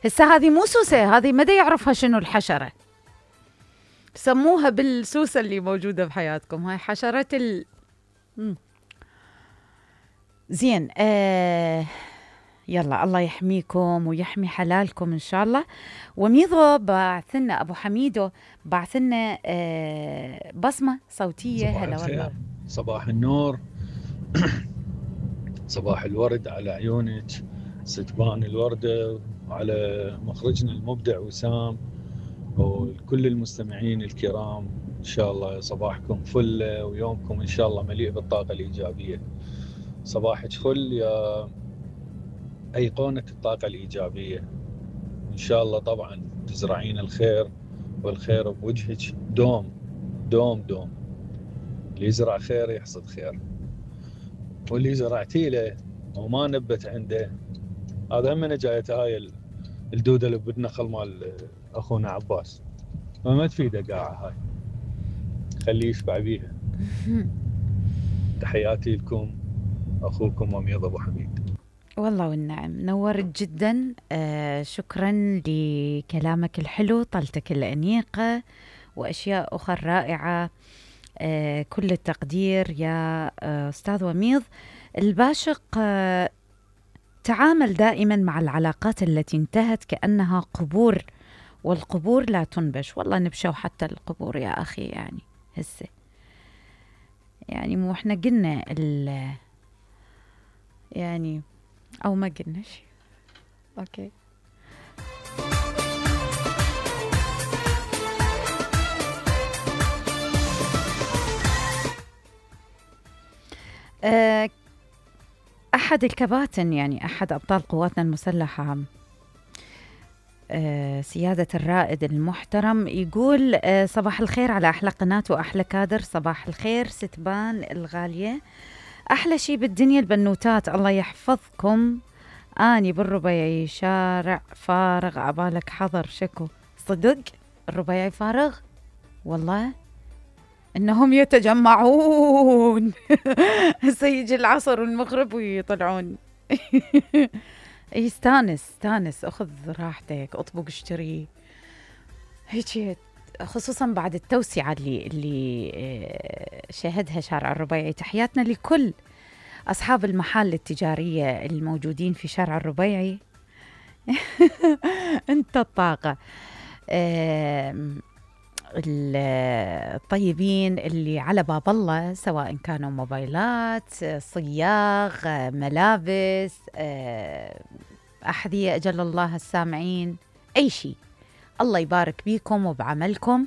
هسه هذه مو سوسة، هذه مدى يعرفها شنو الحشرة، سموها بالسوسة اللي موجودة بحياتكم، هاي حشرة زين. يلا الله يحميكم ويحمي حلالكم إن شاء الله. وميضو بعثنا أبو حميدو بعثنا بصمة صوتية. هلا والله، صباح النور صباح الورد على عيونك ستبان الوردة، وعلى مخرجنا المبدع وسام وكل المستمعين الكرام. إن شاء الله صباحكم فل ويومكم إن شاء الله مليء بالطاقة الإيجابية. صباحك فل يا أيقونة الطاقة الإيجابية. إن شاء الله طبعا تزرعين الخير والخير بوجهك دوم دوم دوم. اللي يزرع خير يحصد خير، واللي زرعتي له وما نبت عنده هذا همنا جايته هاي الدودة اللي بالنخل مال أخونا عباس، ما تفيده قاعة هاي، خليه يشبع بيها. تحياتي لكم أخوكم وميض أبو حميد. والله والنعم، نورت جدا. شكرا لكلامك الحلو، طلتك الأنيقة وأشياء أخرى رائعة. كل التقدير يا أستاذ وميض الباشق. تعامل دائما مع العلاقات التي انتهت كأنها قبور، والقبور لا تنبش. والله نبشوا حتى القبور يا أخي، يعني هسه يعني مو احنا قلنا يعني أو ما قلنا شيء. أوكي. أحد الكباتن، يعني أحد أبطال قواتنا المسلحة، سيادة الرائد المحترم، يقول صباح الخير على أحلى قناة وأحلى كادر. صباح الخير ستبان الغالية، أحلى شي بالدنيا البنوتات، الله يحفظكم. أني بالربيعي شارع فارغ عبالك حضر شكو. صدق الربيعي فارغ؟ والله إنهم يتجمعون سيجي العصر والمغرب ويطلعون. استانس أخذ راحتك، أطبق اشتري هيك، خصوصا بعد التوسعة اللي شهدها شارع الربيعي. تحياتنا لكل أصحاب المحال التجارية الموجودين في شارع الربيعي. أنت الطاقة. الطيبين اللي على باب الله، سواء كانوا موبايلات، صياغ، ملابس، أحذية، أجل الله السامعين، أي شيء. الله يبارك بيكم وبعملكم.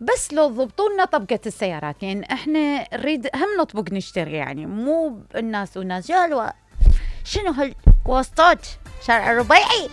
بس لو ضبطوا لنا طبقة السيارات، يعني احنا نريد هم نطبق نشتري، يعني مو الناس وناس جالوا شنو هالواسطات شارع الربيعي.